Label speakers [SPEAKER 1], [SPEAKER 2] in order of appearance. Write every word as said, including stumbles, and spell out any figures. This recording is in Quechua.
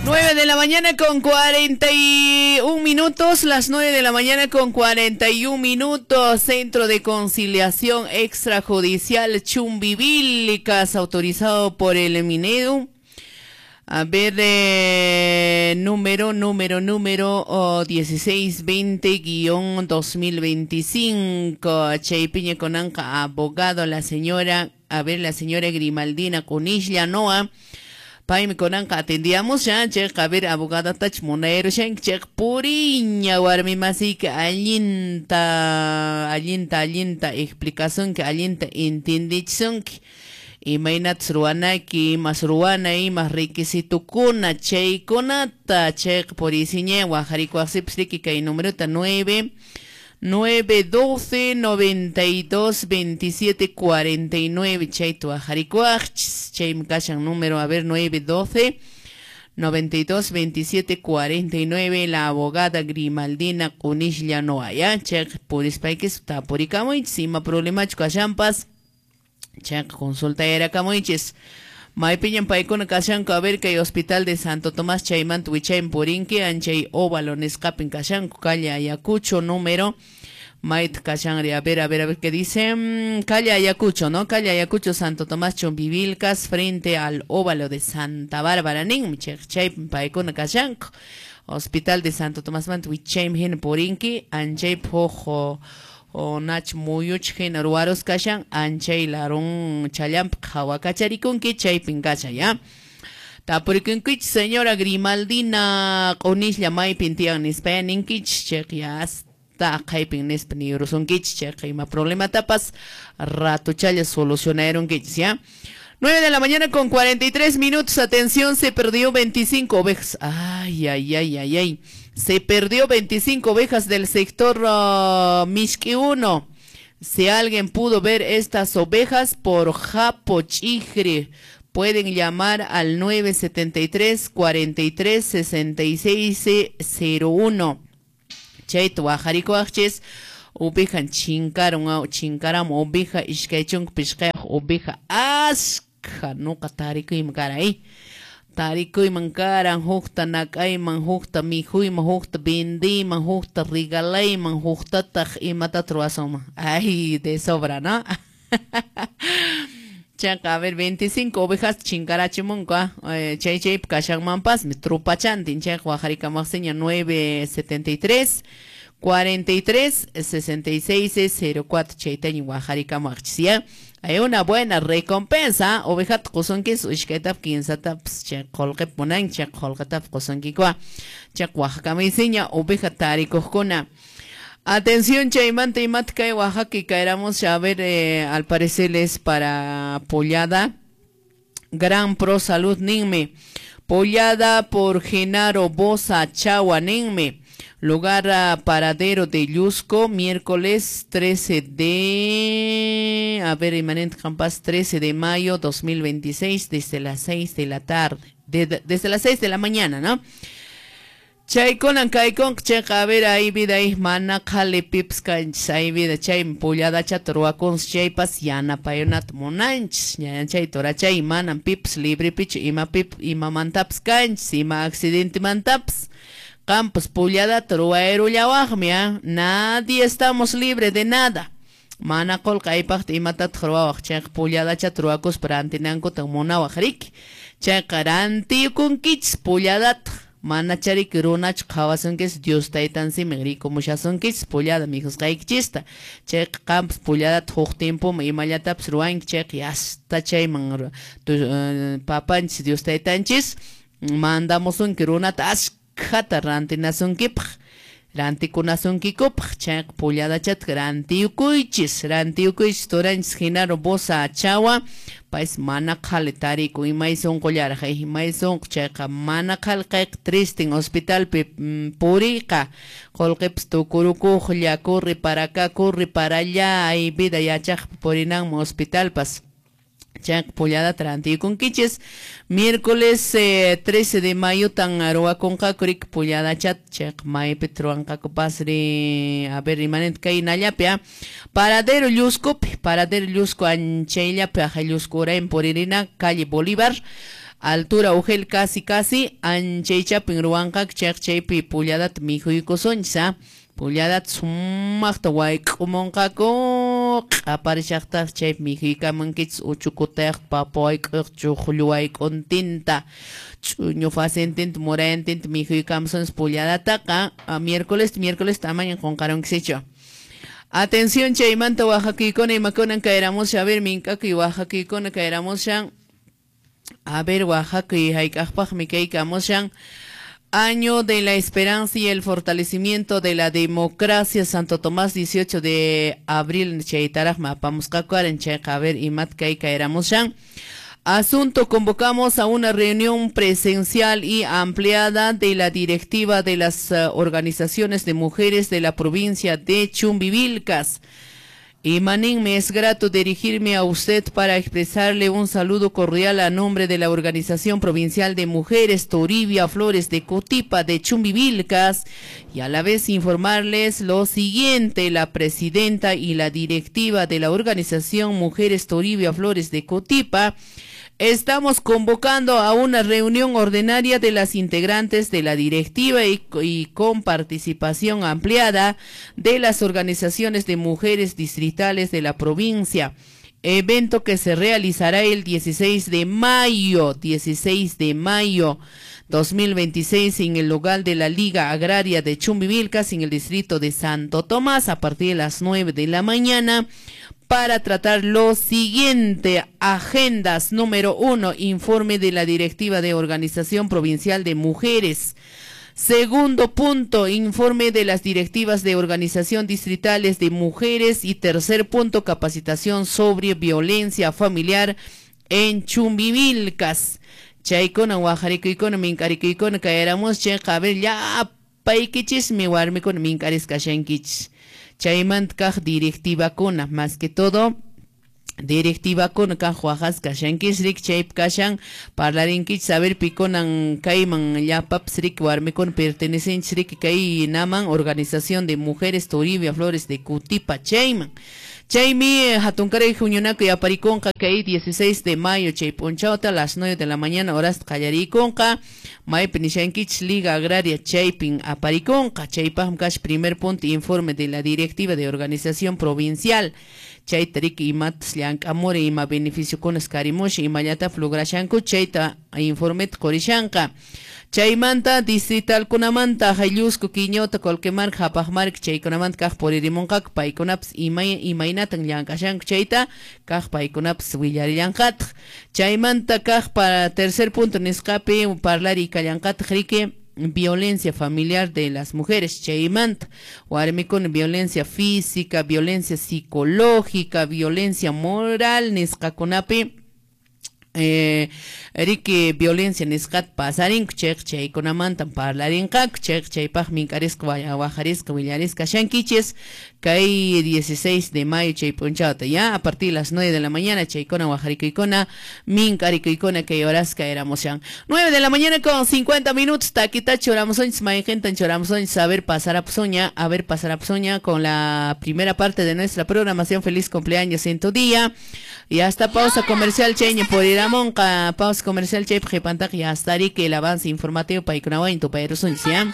[SPEAKER 1] nueve de la mañana con cuarenta y un minutos, las nueve de la mañana con cuarenta y un minutos, Centro de Conciliación Extrajudicial Chumbivilcas, autorizado por el Minedu. A ver, eh, número, número, número oh, dieciséis veinte guión dos mil veinticinco. Chaypiña Conanca, abogado, la señora, a ver, la señora Grimaldina Cunishla Noa. Paymi kunanqa atendíamos ya, chayqa, a ver, abogada tach munayro shank, chayqa puriña warmi masiyki allinta, allinta, allinta explicasunki, allinta entendichisunki. Imaynatas ruwanaki, imas ruwana, imas requisitokuna, chaykunata, chayqa purisiña, wajarikuwaqsipas riki kay numerota nueve, nueve, doce, noventa y dos, veintisiete, cuarenta y nueve, chayta wajarikuwaqchis, chaymi kashan número, a ver, nueve, doce, noventa y dos, veintisiete, cuarenta y nueve, la abogada Grimaldina Cunishla Noa, ya, chayqa purispaykis tapurikamuychis, ima problemachu kashanpas, chayqa consulta yarakamuychis. Maypiñan paykuna kashanku, a ver, kay Hospital de Santo Tomás chaymanta wichaymi purinki, anchay óvalo nisqapin kashanku, calle Ayacucho, número, mayta kashanri, a ver, a ver, a ver, qué dice, mm, calle Ayacucho, ¿no? Calle Ayacucho, Santo Tomás, Chumbivilcas, frente al óvalo de Santa Bárbara, ninmi, chaypin paykuna kashanku, Hospital de Santo Tomás manta wichaymi hina purinki, anchay pojo, o nach muyuch hina ruwaros kashan, anchay larun challamp qhawakacharikunki, chaypin kashan, ya. Tapurikunkichis, señora Grimaldina Qunishla maypin tiyan nispa ninkichis, chayqa ya hasta aqhaypin nispa niyurusunkichis, chayqa ima problematapas ratuchalla solucionarunkichis, ya. nueve de la mañana con cuarenta y tres minutos, atención, se perdió veinticinco ovejas. Ay, ay, ay, ay, ay. Se perdió veinticinco ovejas del sector uh, Mishki uno. Si alguien pudo ver estas ovejas por Japo Chigre, pueden llamar al nueve setenta y tres, cuarenta y tres, sesenta y seis, cero uno. Chayta wajarikuwaqchis, ovejan chinkaron, chinkaram oveja, ishkay chunka pishqayuq oveja, askha nuqa tarikuyman karan, tarikuyman karan, hukta nak'ayman, hukta mikhuyman, hukta vendiyman, hukta regalayman, huktataq imatataq ruwasunman. Ay, de sobra, ¿no? Chayqa, a ver, veinticinco ovejas chinkarachimunku, eh, chay chaypi kashanmanpasmi trupachantin, chayqa waqarikamaqsiña nueve setenta y tres, cuarenta y tres, sesenta y seis, cero cuatro, chaytaña waqarikamaqchis, ya. Hay una buena recompensa, ovejata qusunkis, ishkaytap, kinsatapas, chay qullqip munanki, chay qullqitap qusunkikua, chay waqakamuysiña oveja tarikuqkuna. Atención, chaymanta imata kay Oaxaca caeramos, a ver, eh, al parecer es para Pollada, Gran Pro Salud ninme, Pollada por Genaro Bosa Chagua ninme, lugar a paradero de Llusco, miércoles trece de, a ver, Imanent Campas, trece de mayo dos mil veintiséis, desde las seis de la tarde, de, de, desde las seis de la mañana, ¿no? Chaykunan kaykun chayqa, a ver, ahí vida ahí mana qhali pipas kanchis, ahí vida chaymi pulladachata ruwakunsi chaypas yanapayunata munanchis, ñañanchay turachay manan pipas librepichu ima pip imamantapas kanchis, ima accidentemantapas, qampas pulladata ruwayrullawaqmi, ¿ah? Nadie estamos libre de nada. Mana qullqi aypaqta imatataq ruwawaq, chayqa pulladachata ruwakuspa rantinankuta munawaq riki, chayqa rantiykunkichis pulladata. Mana chariki runachu qhawasunkis, Dios taytansimi rikumushasunkichis pullada mikhusqaykichista, chayqa qampas pulladata huk tiempoman imallatapas ruwanki, chayqa yasta chayman papanchis Dios taytanchis mandamusunki runata askhata rantinasunkipaq, rantikunasunkiykupaq, chayqa pulladachata rantiyukuychis, rantiyukuychis turanchis Genaro Bosa Chagua, paysi mana qhali tarikun imay sunqullaraq, imay sunqu chayqa mana qhali kayqa tristin hospitalpi puriyqa, qullqipas tukurukuqlla, corre para acá, corre para allá, ay vida yachaqpa purinanman hospitalpas. Chayqa pulladata rantiykunkichis, miércoles eh, trece de mayo tan ruwakunqaku riki pulladachata, chayqa maypita ruwanqaku pasri, a ver, imanenta kay nallapi, ah, paradero Lluscopi, paradero Llusco anchayllapi, aja Llusco urayman puririna, calle Bolívar, Altura Ugel casi casi anchaychapin ruwanqaku chayqa chaypi pulladata mikhuykusunchis ha pulladata sumaqta wayk'umunqaku q'aparishaqtaq chaypi mikhuykamunkichis uchukutayaqta papa wayk'uyaq chuqllu wayk'untinta ch'uñu facentinta murayantinta mikhuykamusunchis pulladataqa miércoles miércoles amañan qunqarunkisichu. Atención chaymanta wahakuykuna imakunan kayramushan a ver mink'akuy wahakuykuna kayramushan a ver wahakuy hayk'aqpaqmi kaykamushan. Año de la Esperanza y el Fortalecimiento de la Democracia, Santo Tomás, dieciocho de abril, chaytaraqmi apamusqaku chayqa a ver imat kay kayramushan. Asunto, convocamos a una reunión presencial y ampliada de la directiva de las uh, organizaciones de mujeres de la provincia de Chumbivilcas. Y Manín, me es grato dirigirme a usted para expresarle un saludo cordial a nombre de la Organización Provincial de Mujeres Toribia Flores de Cutipa de Chumbivilcas y a la vez informarles lo siguiente: la presidenta y la directiva de la Organización Mujeres Toribia Flores de Cutipa estamos convocando a una reunión ordinaria de las integrantes de la directiva y, y con participación ampliada de las organizaciones de mujeres distritales de la provincia. Evento que se realizará el dieciséis de mayo, dieciséis de mayo dos mil veintiséis en el local de la Liga Agraria de Chumbivilcas en el distrito de Santo Tomás a partir de las nueve de la mañana, para tratar lo siguiente. Agendas número uno, informe de la Directiva de Organización Provincial de Mujeres. Segundo punto, informe de las directivas de organización distritales de mujeres. Y tercer punto, capacitación sobre violencia familiar en Chumbivilcas. Chaykuna waharikuykuna minkarikuykuna kayaramus chayqa a ver llapaykichismi warmikuna minkarisqa kashankichis. Chaymanta kaq directivakuna, más que todo directivakuna kaq waqasqa kashankichis riki chaypi kashan parlarinkichis a ver pikunan kayman llapapis riki warmikuna pertenecenchis riki kay naman Organización de Mujeres Toribia Flores de Cutipa chayman. Chaymi hatunkaray huñunakuy aparikunqa kay dieciséis de mayo chay p'unchawta a las nueve de la mañana horasta qallarikunqa maypi nishankichis Liga Agraria chaypin aparikunqa chaypaqmi kash primer punto informe de la directiva de organización provincial chayta riki imatas llank'amuri ima beneficiokunas karimushan imallatapis lograshanku chayta informeta qurishanqa. Chaymanta distritalkunamanta Hayllusco, Quiñota, Colquemarca, Japajmarca chaykunamanta kaq puririmunqaku paykunapas imay imaynatan llank'ashanku chayta kaq paykunapas willarillanqataq. Chaymanta kaq para tercer punto nisqapi parlari kallanqataq riki violencia familiar de las mujeres chaymanta warmikuna violencia física, violencia psicológica, violencia moral nisqakunapi Eh, riki violencia nisqata pasarinku chayqa chaykunamanta parlarinqaku chayqa chaypaq minkarisqa waharisqa willarisqa kashankichis kay dieciséis de mayo chay p'unchawta ya a partir de las nueve de la mañana chaykuna waharikuykuna minkarikuykuna kay horasqa eramushan nueve de la mañana con cincuenta minutos taquita churamusunchis mayqintan churamusunchis a ver pasarapsuña a ver pasarapsuña con la primera parte de nuestra programación. Feliz cumpleaños en tu día y hasta pausa comercial chayña por ir Monca, pausa comercial chaypi qhipantaq ya hasta que el avance informativo paykunawan tupayrusunchis ya.